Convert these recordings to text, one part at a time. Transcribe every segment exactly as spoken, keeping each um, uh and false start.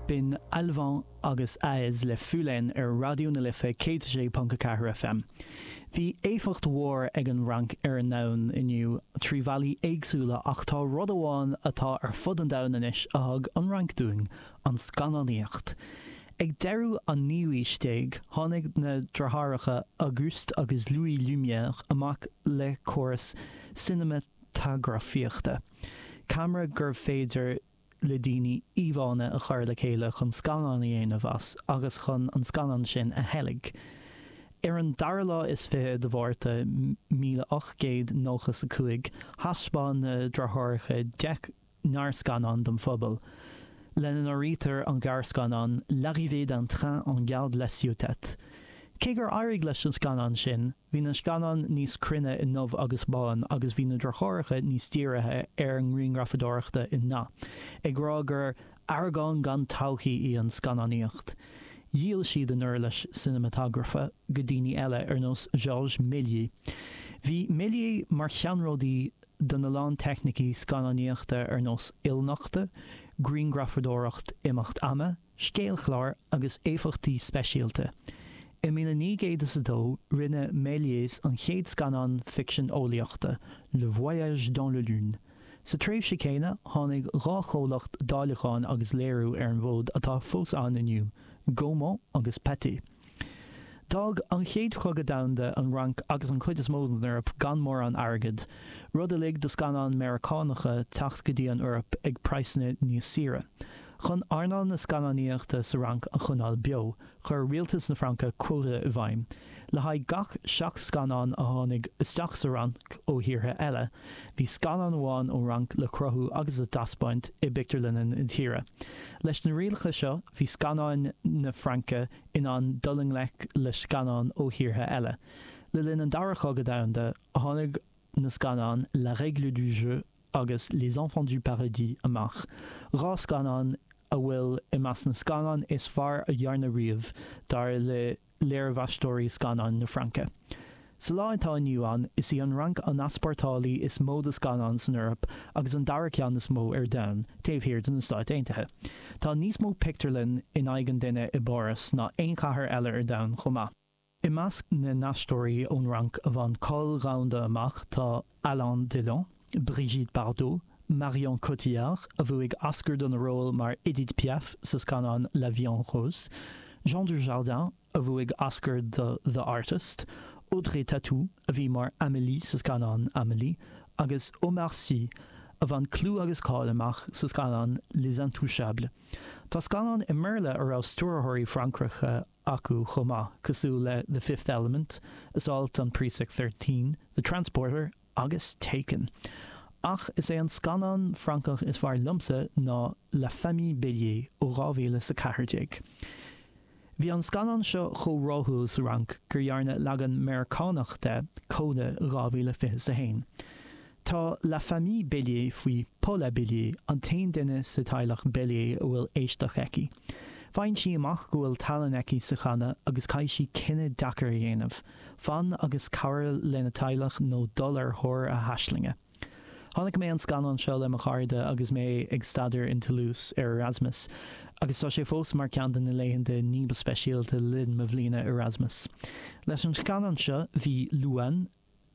B'in Alvan agus Aez le Fulenn ar Raidió na Life céad sé ponc a ceathair F M. Bhí éifeacht mhór ag an Fhrainc ar an domhan inniu trí bhealaí éagsúla, ach tá rud amháin atá ar fud an domhain anois a thug an Fhrainc dúinn, an scannánaíocht. Ag deireadh an naoú haois déag tháinig na deartháireacha Auguste agus Louis Lumière amach le córas cineamatagrafaíochta. Ceamara gurbh féidir le daoine íomhánna a chur le chéile chun scannán a dhéanamh as agus chun an scannán sin a theilgean. Ar an dara lá is fiche de Mhárta míle ocht gcéad nócha a cúig, thaispeáin na deartháireacha deich ngearrscannán don phobal, lena n-áirítear an gearrscannán L'arrivée d'un train en gare de la Ciotat. Cé gur éirigh leis an scannán sin, bhí na scannáin níos cruinne i ndubh agus bán agus bhí na deartháireacha níos dírithe ar an ngrianghrafadóireacht i ndath, ag rá gur aireagán gan todhchaí í an scannánaíocht. Dhíol siad an uirlis cineamatagrafa go daoine eile ar nós Georges Méliès. Bhí Méliès mar cheannródaí don a lán teicnící scannánaíochta ar nós ilnochtadh, grianghrafadóireacht imeacht ama, scéalchlár agus éifeachtaí speisialta. I míle naoi gcéad is a dó rinne Méliès an chéad scannán ficsean eolaíochta, Le Voyage dans la Lune. Sa tréimhse céanna tháinig dhá chomhlacht dáileacháin agus léiriú ar an bhfód atá fós ann inniu, Gaumont agus Pathé. D'fhág an chéad chogadh domhanda an Fhrainc agus an chuid is mó den Eoraip gan mórán airgid, rud a lig do scannáin Meiriceánacha teacht go dtí an Eoraip ag praghsanna níos saoire. Chun earnáil na scannánaíochta sa Fhrainc a choinneáil beo, chuir rialtas na Fraince quota i bhfeidhm. Le haghaidh gach seacht scannán a tháinig isteach sa Fhrainc ó thíortha eile, bhí scannán amháin ón Fhrainc le cruthú agus a thaispeáint i bpictiúrlanna na tíre. Leis na rialacha seo bhí scannáin na Fraince in ann dul i ngleic le scannáin ó thíortha eile. Le linn an dara cogadh domhanda tháinig na scannáin La Règle du jeu agus Les Enfants du Paradis amach. Dhá scannán a bhfuil i measc na scannán is fearr a dhearnadh riamh dar le léirmheastóirí scannáin na Fraince. Sa lá atá inniu ann, is í an Fhrainc an easpórtálaí is mó de scannáin san Eoraip agus an dara ceann is mó ar domhan, taobh thiar de na Stáit Aontaithe. Tá níos mó pictiúrlann in aghaidh an duine i bPáras ná aon chathair eile ar domhan chomh maith. I measc na n-aisteoirí ón Fhrainc a bhain cáil dhomhanda amach tá Alain Delon, Brigitte Bardot, Marion Cotillard, a bhuaigh Oscar don a ról mar Edith Piaf sa scannán La Vie en Rose, Jean Dujardin, a bhuaigh Oscar do The Artist, Audrey Tautou, a bhí mar Amélie sa scannán Amélie, agus Omar Sy, a bhain clú agus cáil amach sa scannán Les Intouchables. Tá scannáin i mBéarla a raibh stiúrthóirí Francacha acu chomh maith, cosúil le The Fifth Element, Assault on Precinct thirteen, The Transporter agus Taken. Ach is é an scannán Francach is fearr liomsa ná La Famille Bélier ó dhá mhíle sa ceathair déag. Bhí an scannán seo chomh rathúil sa Fhrainc gur dhearnadh leagan Meiriceánach de, CODA dhá mhíle fiche a haon. Tá La Famille Bélier faoi Paula Bélier, an t-aon duine sa teaghlach Bélier a bhfuil éisteacht aici. Faigheann sí amach go bhfuil tallann aici sa chanadh agus caithfidh sí cinneadh deacair a dhéanamh, fan agus cabhrú lena teaghlach nó dul ar thóir a haislinge. Chonaic mé an scannán seo le mo chairde agus mé ag staidéar in Toulouse ar Erasmus, agus tá sé fós mar ceann de na laethanta ní ba speisialta le linn mo bhliana Erasmus. Leis an scannán seo bhí Louane,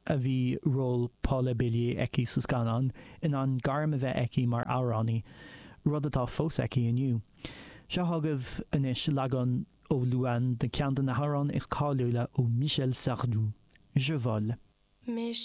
a bhí ról Paula Bélier aici sa scannán, in ann gairm a bheith aici mar amhránaí, rud atá fós aici inniu. Seo chugaibh anois leagan ó Louane de ceann de na hamhráin is cáiliúla ó Michel Sardou, Je vole. Mes